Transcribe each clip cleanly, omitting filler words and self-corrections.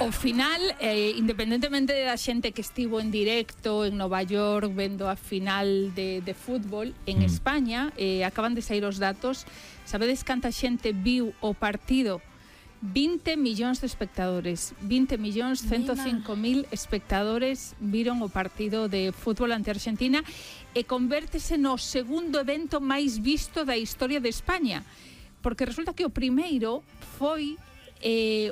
O final, independentemente da xente que estivo en directo en Nova York vendo a final de fútbol, en España acaban de sair os datos. Sabedes canta xente viu o partido? 20 millóns de espectadores, 20 millóns 105.000 espectadores viron o partido de fútbol ante Argentina e convértese no segundo evento máis visto da historia de España, porque resulta que o primeiro foi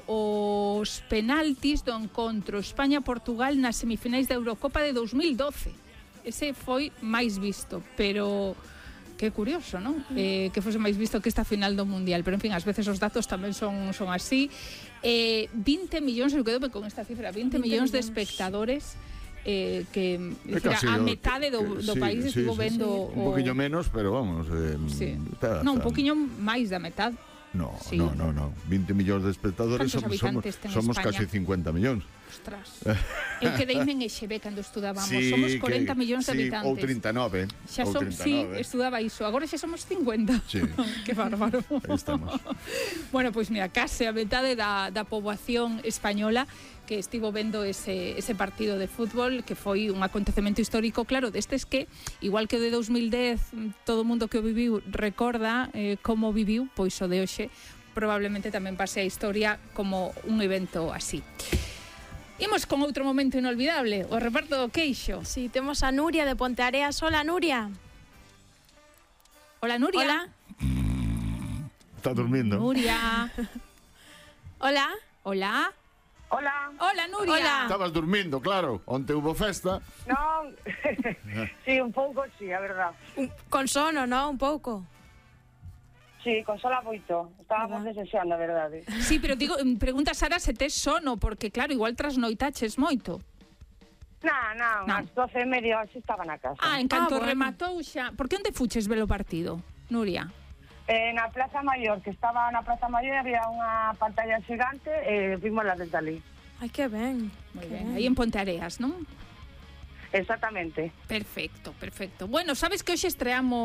os penaltis do encontro España-Portugal nas semifinais da Eurocopa de 2012. Ese foi máis visto, pero que curioso, non? Que fose máis visto que esta final do Mundial, pero en fin, ás veces os datos tamén son así. 20 millóns, eu quedo con esta cifra, 20 millóns de espectadores que a metade do país estivo vendo un poquinho menos, pero vamos, un poquinho máis da metade. No, 20 millóns de espectadores, somos casi 50 millóns. Ostras. Eu quedeime en EXB cando estudábamos. Somos 40 millóns de habitantes. Ou 39. Sí, estudaba iso. Agora xa somos 50. Sí. Que bárbaro. Aí estamos. Bueno, pois mira, case a metade da poboación española que estivo vendo ese partido de fútbol, que foi un acontecemento histórico, claro, destes que, igual que o de 2010, todo o mundo que o viviu recorda como viviu, pois o de hoxe probablemente tamén pase a historia como un evento así. Imos con outro momento inolvidable, o reparto do queixo. Sí, temos a Nuria de Ponteareas. Hola, Nuria. Hola, Nuria. Hola. Está durmiendo. Nuria. Hola. Hola. Hola. Hola, Nuria. Hola. Estabas durmindo, claro. Onte hubo festa. Non, sí, un pouco, sí, a verdad. Con sono, ¿no? Un pouco. Sí, con sola moito. Estábamos desexando, a verdade. Sí, pero digo, pregunta Sara se tes sono, porque claro, igual trasnoitaches moito. Non, ás 12:30 así estaba na casa. En canto bueno. rematou xa. Por que onde fuches ver o partido, Nuria? Na Plaza Maior, que estaba na Plaza Maior, había unha pantalla xigante e vimos la desde ali. Ai, que ben. Moi ben, aí en Ponteareas, non? Exactamente. Perfecto. Bueno, sabes que hoxe estreamos